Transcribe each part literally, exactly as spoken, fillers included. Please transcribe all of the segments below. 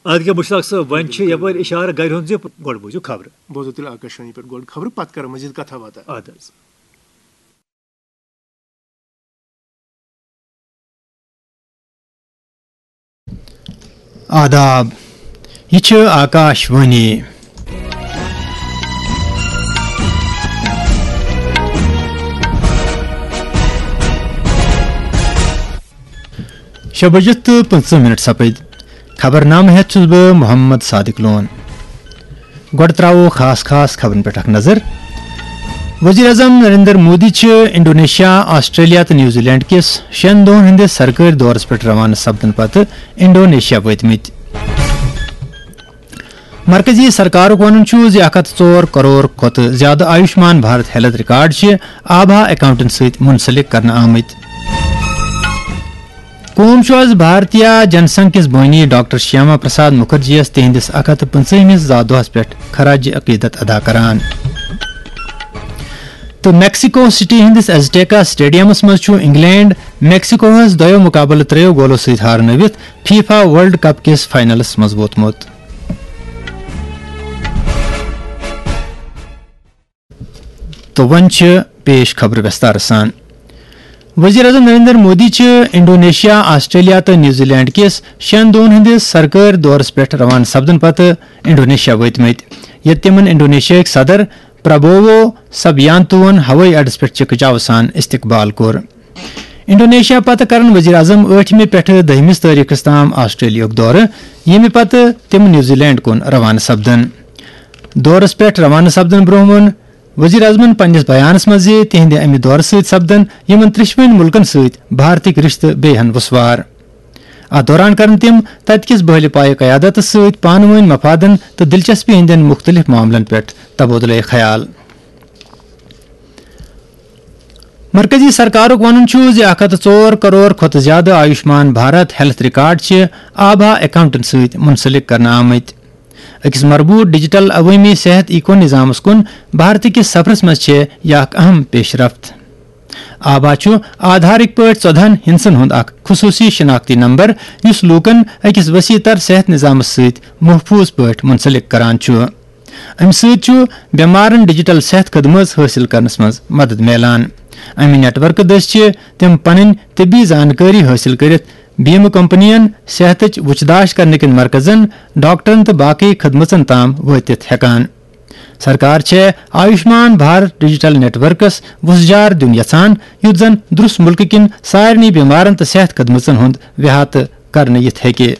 اَدٕ کیٛاہ مُشتاق صٲب، وۄنۍ چھِ یَپٲرۍ اِشارٕ گَرِ ہُنٛد زِ گۄڈٕ بوٗزِو خبرٕ۔ بوزو تیٚلہِ آکاشوانی پٮ۪ٹھ گۄڈٕ خبرٕ، پَتہٕ کَرو مٔزیٖد کَتھا باتھا۔ اَدٕ حظ۔ آداب، یہِ چھِ آکاش وانی۔ شےٚ بجہِ تہٕ پٕنٛژٕہ مِنٹ سپٕدۍ۔ خبرنامہٕ ہٮ۪تھ چھُس بہٕ محمد صادق لون۔ گۄڈٕ ترٛاوو خاص خاص خبرن پٮ۪ٹھ اکھ نظر۔ وزیر اعظم نریندر مودی چھِ انڈونیشیا، آسٹریلیا تہٕ نیوزی لینڈ کِس شٮ۪ن دۄہن ہٕنٛدِس سرکٲرۍ دورس پٮ۪ٹھ روانہٕ سپدنہٕ پتہٕ انڈونیشیا وٲتمٕتۍ۔ مرکزی سرکارُک وَنُن چھُ زِ اکھ ہتھ ژور کرور کھۄتہٕ زِیٛادٕ آیوشمان بھارت ہیلتھ ریکارڈ چھِ آبھا اکاؤنٹن سۭتۍ منسلک کرنہٕ آمٕتۍ۔ قوم چھُ آز بھارتیہ جن سنگھ کِس بٲنی ڈاکٹر شیاما پرساد مُکھرجی یَس تِہنٛدِس اکھ ہتھ تہٕ پٕنٛژٕہمِس زا دۄہَس پٮ۪ٹھ خراج عقیدت ادا کران۔ تہٕ میکسیکو سٹی ہٕنٛدِس ایزٹیکا سٹیڈیمَس منٛز چھُ انگلینڈ میکسیکوہَس دۄیو مُقابلہٕ ترٛیٚیو گولو سۭتۍ ہارنٲوِتھ فیفا ورلڈ کپ کِس فائنلس منٛز ووتمُت۔ تہٕ وۄنۍ چھِ پیش خبرٕ وِستارٕ سان۔ وزیر اعظم نریندر مودی چھِ انڈونیشیا، آسٹریلیا تہٕ نیوزی لینڈ کِس شٮ۪ن دۄہن ہٕنٛدِس سرکٲرۍ دورس پٮ۪ٹھ روانہٕ سپدنہٕ پتہٕ انڈونیشیا وٲتمٕتۍ، ییٚتہِ تِمن انڈونیشیاہٕکۍ صدر پرابوو سبیانتوون ہوٲیی اڈس پٮ۪ٹھ چکچاو سان استقبال کوٚر۔ انڈونیشیا پتہٕ کرن وزیر اعظم ٲٹھمہِ پٮ۪ٹھٕ دٔہمِس تٲریخس تام آسٹریلیاہُک دورٕ، ییٚمہِ پتہٕ تِم نیوزی لینڈ کُن روانہٕ سپدن۔ دورس پٮ۪ٹھ روانہٕ سپدن برونٛہہ ووٚن وزیر اعظمن پننِس بیانس منٛز زِ تِہنٛدِ امہِ دورٕ سۭتۍ سپدن یِمن ترٛشوٕنۍ مُلکن سۭتۍ بھارتٕکۍ رشتہٕ بیٚیہِ ہن وسوار۔ اتھ دوران کرن تِم تتہِ کِس بحلِ پایہِ قیادتس سۭتۍ پانہٕ وٲنۍ مفادن تہٕ دلچسپی ہٕنٛدٮ۪ن مُختٔلِف معاملن پٮ۪ٹھ تبادلہٕ خیال۔ مرکزی سرکارُک وَنُن چھُ زِ اکھ ہتھ ژور کرور کھۄتہٕ زِیٛادٕ آیوشمان بھارت ہیلتھ ریکارڈ چھِ آبھا اکاؤنٹن سۭتۍ منسلک کرنہٕ آمٕتۍ۔ أکِس مربوط ڈیجیٹل عوٲمی صحت ایکو نظامَس کُن بھارتہٕ کِس سفرَس منٛز چھِ یہِ اکھ اہم پیش رفت۔ آبھا چھُ آدھارٕکۍ پٲٹھۍ ژۄدہَن ہندسن ہُنٛد اکھ خصوٗصی شناختی نمبر، یُس لوٗکَن أکِس وسیع تر صحت نظامَس سۭتۍ محفوٗظ پٲٹھۍ منسلک کران چھُ۔ امہِ سۭتۍ چھُ بٮ۪مارن ڈیجیٹل صحت خدمت حٲصِل کرنس منٛز مدد میلان۔ امہِ نیٹ ورکہٕ دٔسۍ چھِ تِم پنٕنۍ طبی زانکٲری حٲصِل کٔرِتھ بیمہٕ کمپنین، صحتٕچ وُچھ داش کرنہٕ کٮ۪ن مرکزن، ڈاکٹرن تہٕ باقی خدمژن تام وٲتِتھ ہٮ۪کان۔ سرکار چھےٚ Ayushman Bharat digital networks وُژھ جار دیُن یژھان، یُتھ زن درُس مُلکہٕ کٮ۪ن سارنٕے بٮ۪مارن تہٕ صحت خدمژن ہُنٛد احاطہٕ کرنہٕ یِتھ ہیٚکہِ۔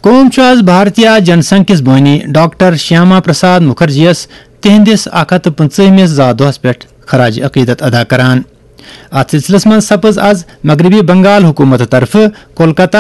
قوم چھُ آز بھارتیہ جن سنگھ کِس بٲنی ڈاکٹر شیاما پرساد مُکھرجی یَس تِہنٛدِس اکھ ہتھ تہٕ پٕنٛژٕہمِس زا دۄہَس پٮ۪ٹھ خراج عقیدت ادا کران۔ اتھ سلسلس منٛز سپٕز آز مغربی بنگال حکومت طرفہٕ کولکتہ